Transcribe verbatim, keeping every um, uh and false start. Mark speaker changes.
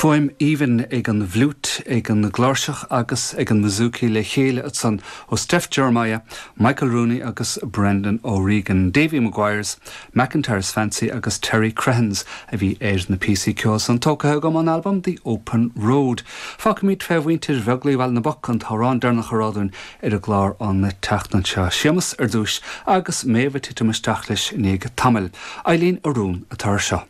Speaker 1: Fuaim aoibhinn ag an bhfliúit ag an gcláirseach agus ag an mbouzouki le chéile ansan ó Steph Jeremiah, Michael Rooney agus Brendan O'Regan, Davy Maguire's, McIntyre's Fancy agus Terry Crehans a bhí ar na píosaí ceoil san tógtha agam ón albam The Open Road. Fágfaimid fé mhuintir Bheaglaoich Bhaile na bPoc an t-amhrán deireanach a rá dúinn ar an gclár an tseachtain seo Séamus ar dtús agus Méabh ag titim isteach leis i ndiaidh tamaill. Eileen Arún atá seo.